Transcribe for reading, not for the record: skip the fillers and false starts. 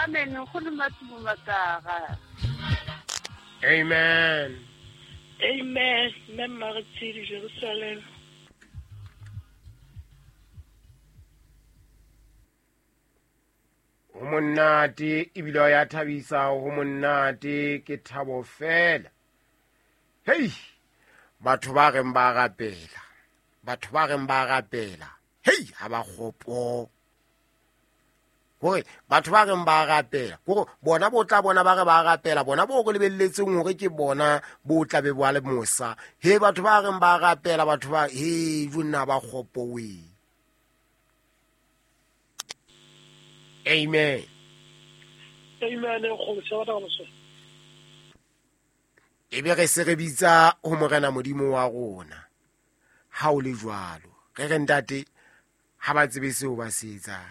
Amen. Nkgono Matumo Matara. Amen. Amen. Mme Mmaretshidi Jerusalem. Ho monate ebile ya thabisa, ho monate ke thabo fela. Hei, batho ba reng ba rapela, batho ba reng ba rapela, hei, ha ba kgopo. Hore batho ba reng ba rapela, hore bona bo tla bona ba re ba rapela, bona bo re lebelletseng hore ke bona bo tla be ba le mosa. He, batho ba reng ba rapela, batho ba, he, jonna ba kgopo we. Amen. Amen. E be re se re bitsa ho Morena Modimo wa rona. Ha o le jwalo, re re ntate, ha ba tsebe seo ba se etsang.